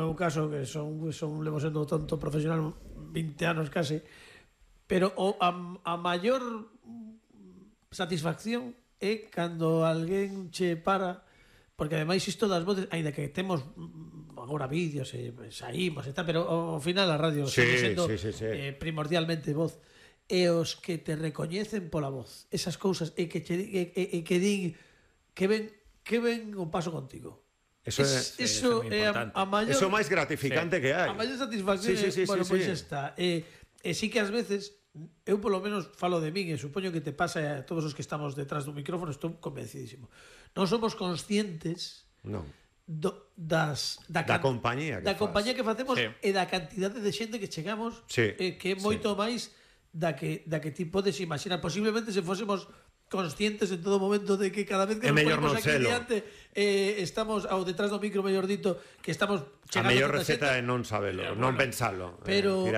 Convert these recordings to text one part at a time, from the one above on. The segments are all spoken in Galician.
meu caso, que levo sendo tonto profesional 20 anos case, pero a maior satisfacción é cando alguén che para, porque ademais isto das voces, ainda que temos agora vídeos e saímos e tal, pero ao final a radio sigue sendo primordialmente voz, e os que te recoñecen pola voz, esas cousas, e que din que ven o paso contigo. Eso é a maior... Eso é o máis gratificante que hai. A maior satisfacción pois está. E sí que ás veces eu polo menos falo de min e supoño que te pasa a todos os que estamos detrás do micrófono, estou convencidísimo. Non somos conscientes da compañía que facemos e da cantidade de xente que chegamos, que é moito máis da que ti podes imaginar. Posiblemente se fósemos conscientes en todo momento de que cada vez que nos ponemos aquí diante estamos ao detrás do micro, mellor dito, que estamos chegando a mellor receta é non sabelo, non pensalo, pero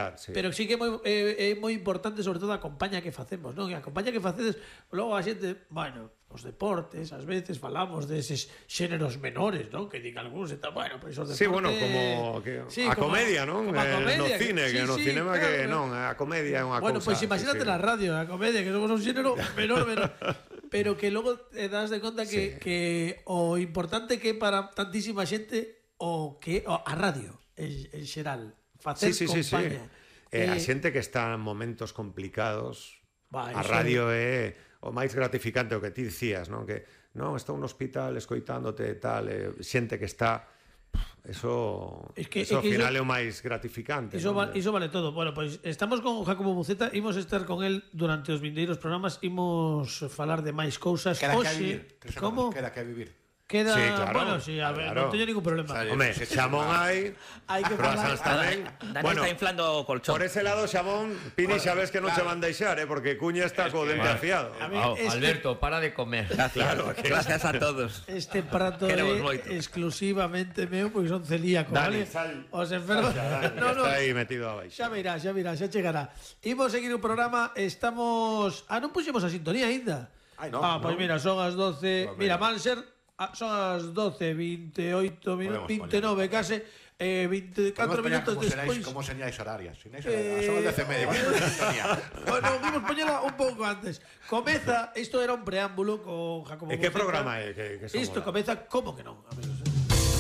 sí que é moi importante, sobre todo a compañía que facemos, non? A compañía que facedes, logo a xente, bueno, os deportes, ás veces falamos deses xéneros menores, non? Que digan algúns, bueno, pois os deportes... Sí, bueno, como a comedia, non? No cine, que no cinema que non, a comedia é unha cousa... Bueno, pois imagínate na radio, a comedia, que somos un xénero menor, pero que logo te das de conta que o importante que para tantísima xente a radio en xeral, facer compañía. A xente que está en momentos complicados, a radio é o máis gratificante, o que ti dicías, non? Que non, estou no hospital escoitándote e tal, xente que está... Eso ao final é o máis gratificante. Iso vale todo. Bueno, pois estamos con Jacobo Muceta, imos estar con el durante os vindeiros programas, imos falar de máis cousas. Queda que a vivir. Como? Queda que a vivir. Queda, sí, claro, bueno, sí, a ver, non teño ningún problema. Home, xamón hai que falar. Dani está inflando o colchón. Por ese lado, xamón, Pini, xa ves que non se van deixar, porque Cuña está co dente afiado. Alberto, para de comer. Gracias a todos. Este prato é exclusivamente meu, porque son celíaco, Dani, vale? Os enfermos... Está aí metido abaixo. Xa verá, xa chegará. Imos seguir o programa, estamos... non puxemos a sintonía aínda. Pois mira, son as 12... Mira, Manser... son as 12:28 minutos, 29 case, 24 minutos despois. Como señais horarias? Son as 10:30. Bueno, vimos poñela un pouco antes. Comeza, isto era un preámbulo con Jacobo. E que programa é? Isto comeza, como que non?